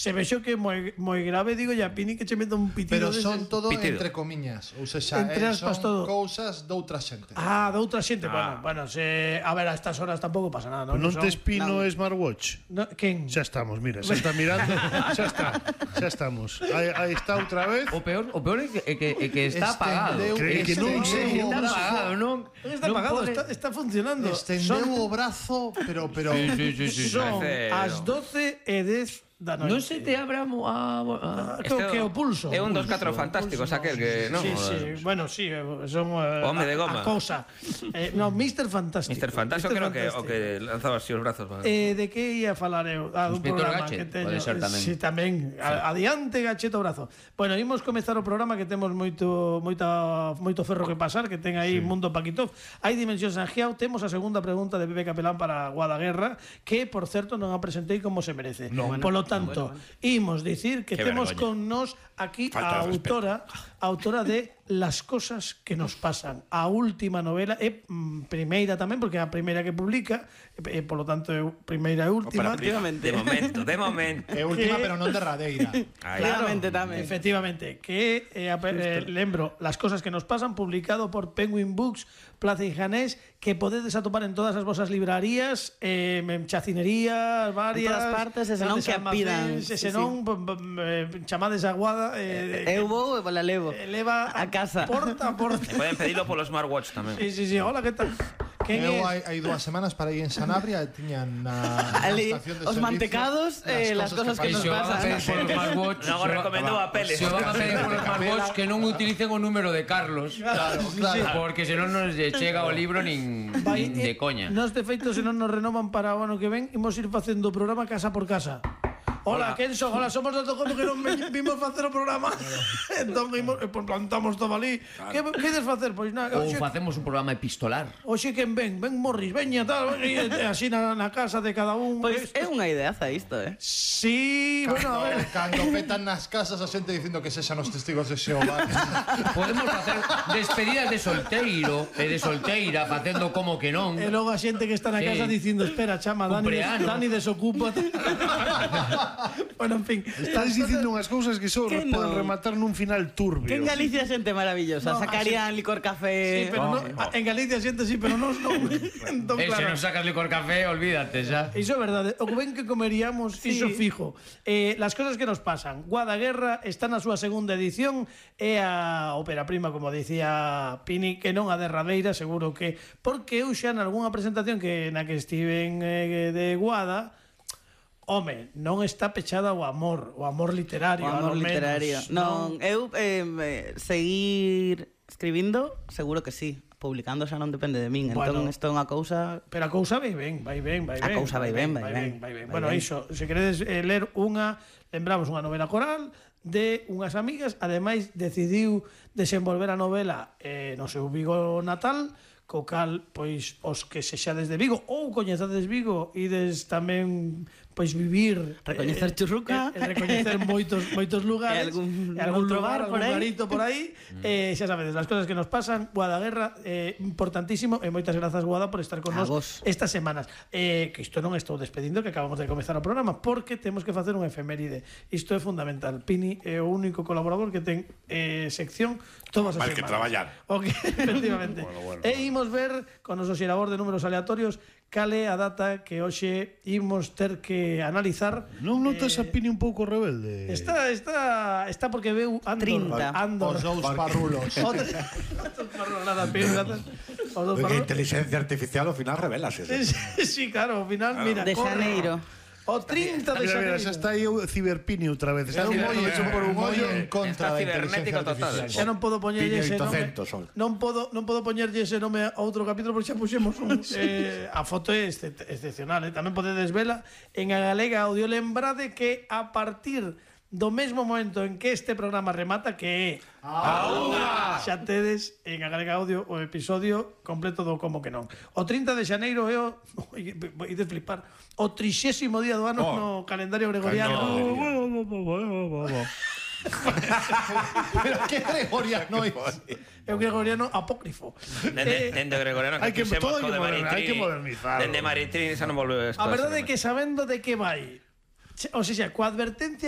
se vexo que moi grave, digo, ya Pini que che meta un pitido. Pero son todo entre comiñas, ou seja, son cousas doutra xente. Ah, doutra xente, bueno, a ver, a estas horas tampouco pasa nada, non? Non tes Pino Smartwatch? Quen? Xa estamos, mira, xa está mirando. Xa estamos. Aí está outra vez. O peor é que está apagado. Que non sei. Está apagado, non? Está apagado, está funcionando. Estendeu o brazo, pero son as 12:10 da noite. Non se te abra que o pulso. É un dos 4 fantásticos aquel que, non? Sí, bueno, sí, son home de goma. A cousa. No, Mr. Fantástico. Mr. Fantástico creo que o que lanzaba así os brazos. De que ia falar eu? Un programa que teño. Pode ser tamén. Sí, tamén. Adiante, Gacheto brazo. Bueno, imos comezar o programa que temos moito ferro que pasar, que ten aí Mundo Paquitov. Hai Dimensión Sangiao, temos a segunda pregunta de Pepe Capelán para Guadaguerra, que, por certo, non a presentei como se merece. Polo tanto, imos dicir que temos con nós aquí a autora de Las cosas que nos pasan. A última novela é primeira tamén, porque é a primeira que publica, polo tanto é primeira e última. De momento. É última, pero non derradeira. Claramente tamén. Efectivamente, que lembro, Las cosas que nos pasan, publicado por Penguin Books, Plaza Janés, que podedes atopar en todas as vosas librarías, en chacinerías varias, en todas partes, e senón que a pidan. Se non, chamades a Guada, eu vou e la levo a casa. Porta a porta. Poden pedilo polo smartwatch tamén. Sí, hola, que tal? Eu hai 2 semanas para ir en Sanabria e tiñan na estación de servicio os mantecados, las cosas que nos pasan. Non recomendo a Peles. Se van a pedir por smartwatch que non utilicen o número de Carlos. Claro. Porque senón nos chega o libro nin de coña. Nos de feito, senón nos renovan para o ano que ven, imos ir facendo o programa casa por casa. Hola, quen son? Hola, somos do Tocomo que non vimos facer o programa. Entón, plantamos todo ali. Que queres facer? Pois nada. Ou facemos un programa epistolar. Oxe, quen ven Morris, veña, tal, así na casa de cada un. Pois é unha ideaza isto, Sí, bueno, a ver. Cando petan nas casas a xente dicindo que sexan os testigos de Xehová. Podemos facer despedidas de solteiro e de solteira facendo como que non. E logo a xente que está na casa dicindo, espera, chama, Dani desocupa. Bueno, en fin, estás dicindo unhas cousas que só poden rematar nun final turbio. Que en Galicia xente maravillosa, sacarían licor café. Sí, pero en Galicia xente sí, pero non. Se non sacas licor café, olvídate xa. Iso é verdade, o que ven que comeríamos, iso fijo. Las cosas que nos pasan. Guadaguerra está na súa segunda edición, é a ópera prima, como dicía Pini, que non a derradeira, seguro que, porque eu xa nalgúna presentación na que estiven de Guada, home, non está pechada o amor literario. O amor literario. Non, eu seguir escribindo, seguro que sí. Publicando xa non depende de min. Entón, isto é unha cousa... Pero a cousa vai ben. A cousa vai ben. Bueno, iso, se queredes ler lembramos unha novela coral de unhas amigas, ademais decidiu desenvolver a novela no seu Vigo natal, co cal, pois, os que sexades de Vigo ou coñezades Vigo ides tamén, pois, vivir, recoñecer Churruca, recoñecer moitos lugares, algún lugar, algún garito por aí, xa sabedes, as cosas que nos pasan. Guadaguerra, importantísimo, e moitas grazas, Guada, por estar con nós estas semanas. Que isto non estou despedindo, que acabamos de comezar o programa, porque temos que facer un efeméride. Isto é fundamental. Pini é o único colaborador que ten sección todas as semanas. Mal que traballar. Efectivamente. E imos ver con os xerador de números aleatorios cale a data que hoxe imos ter que analizar. Non notas a Pini un pouco rebelde? Está porque veu Andor. Os dous parrulos. Nada, Pini, nada. A inteligencia artificial ao final revelase. Sí, claro, ao final, mira, de Xaneiro. O 30 de Xaneiro. Xa está aí o Ciberpini outra vez. Está un mollo hecho por un mollo en contra da inteligencia artificial. Xa non podo poñerlle ese nome. Non podo poñerlle ese nome a outro capítulo porque xa puxemos a foto é excepcional, tamén podedes vela en a Galega Audio. Lembrade que a partir do mesmo momento en que este programa remata, que é xa tedes en a Galega Audio o episodio completo do Como que non. O 30 de Xaneiro é o ides flipar, o 30º día do ano no calendario gregoriano. Pero que gregoriano é? É o gregoriano apócrifo. Dende gregoriano que fixemos co de Maritrini. Hai que modernizar. Dende Maritrini xa non volveu a estar. A verdade é que sabendo de que vai, o sea, coa advertencia